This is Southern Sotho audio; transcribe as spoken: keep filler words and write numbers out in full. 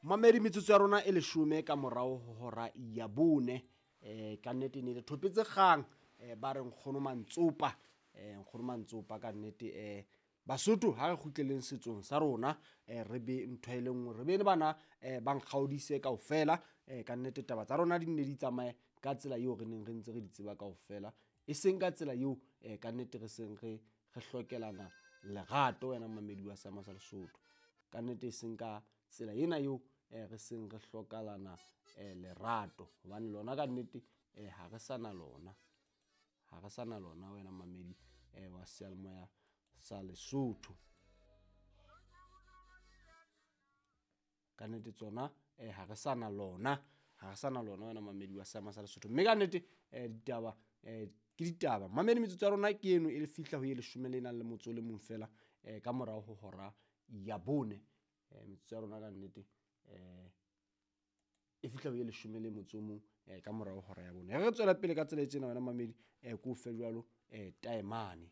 Mamedi, metsotso ya rona e leshome ka morao ho hora ya bone. um ka nnete ne le thopetse kgang, um ba re nkgono Mantsopa, um nkgono Mantsopa ka nnete. um Basotho ha re kgutleleng setsong sa rona, um re be ntho e le nngwe, re be le bana um ba nkgaodise kaofela. um Ka nnete taba tsa rona di nne di tsamaye ka tsela eo re neng re ntse re di tseba kaofela, e seng ka tsela eo um ka nnete re seng re re hlokelana lerato wena mamedi wa seama sa Lesotho. Ka nnete e seng ka tsela ena eo um re seng re hlokalana um lerato, hobane lona ka nnete um ha re sa na lona, ha re sa na lona wena mamedi um wa seyalemoya sa Lesotho. Ka nnete tsona um ha re sa na lona, ha re sa na lona wena mamedi wa seama sa Lesotho. Mme ka nnete um ditaba um ke ditaba. Mamedi, metsotso ya rona ke eno e le fihla ho ye leshome le nang le motso o le mong fela um ka morao ho hora ya bone. um Metsotso ya rona ka nnete um e fihla ho ye leshome le motso o mong um ka morao hora ya bone. Re tswela pele ka tsela e tjena wena mamedi, um ko fe jwalo um taemane.